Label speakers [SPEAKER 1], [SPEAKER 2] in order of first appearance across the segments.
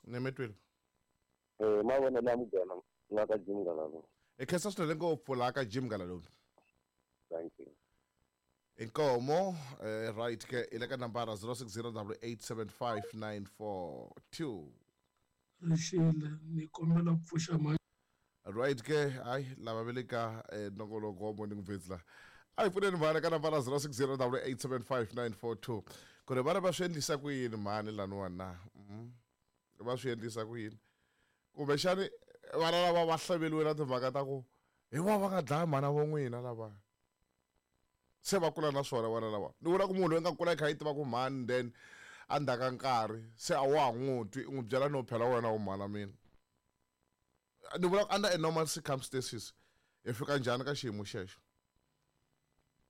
[SPEAKER 1] Ni mi twile.
[SPEAKER 2] Mavonelo ya muganga nga ka Jim Ngalalo.
[SPEAKER 1] Hi khensa swinene ngopfu laha ka Jim Ngalalo.
[SPEAKER 2] Thank you.
[SPEAKER 1] Inkomo right ke i le ka nambara 0608875942.
[SPEAKER 3] Rixile ni kombela ku pfuxa mhaka.
[SPEAKER 1] Right ke hayi lava va le ka nongoloko wa Morning Vets la. A hi pfuneni mhani ka nambara 0608875942 ku ri vana va swi endlisa ku yini mhani laniwani na. Va swi endlisa ku yini? Kumbexani vana lava va hlaveliwe na timhaka ta ku hi vona va nga dlaya mhana vo n'wina lava. Se va kula na swona vana lava. Ni vula ku munhu loyi nga kula i kha i tiva ku mhani then a ndzhaku ka nkarhi se a wa ha n'wi twi u n'wi byela no phela wena u mhana mina. Ni vula ku under a normal circumstances hi fika njhani ka xiyimo xexo?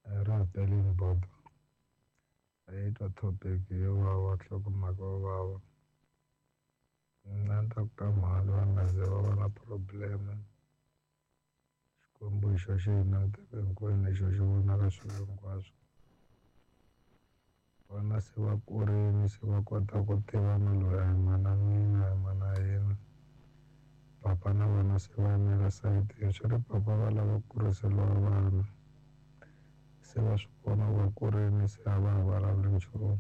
[SPEAKER 4] Ra pelini bodo. A yi twa topic yo vava nhlokomhaka yo vava. Mina ni ta ku ka mhani va nga ze va va na problem. Xikwembu hi xo xi hi langutaka hinkwenu hi xo xi vonaka swilo hinkwaswo. Vana se va kurile se va kota ku tiva na loyi a hi mana mina a hi mana yena. Papa na vona se va yimela sayitini swi ri papa va lava ku kuriseriwa vana. Se va swi vona ku va kurile se a va ha vulavuli nchumu.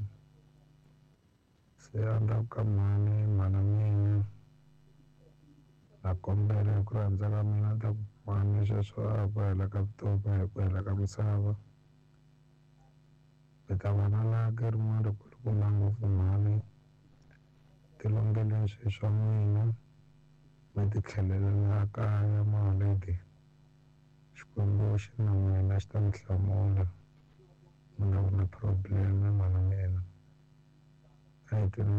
[SPEAKER 4] Se a ni ta ku ka mhani mhana mina na kombela hi ku rhandza ka mina ni ta ku mhani sweswo a hi ku hela ka vutomi a hi ku hela ka misava. Mi ta va na lucky rin'wana ri kulukumba ngopfu mhani tilongeleni swilo swa n'wina mi ti tlhelelela kaya maholideyi. Xikwembu xi na n'wina xi ta mi hlamula mi nga vi na problem mhana mina. A hi twini.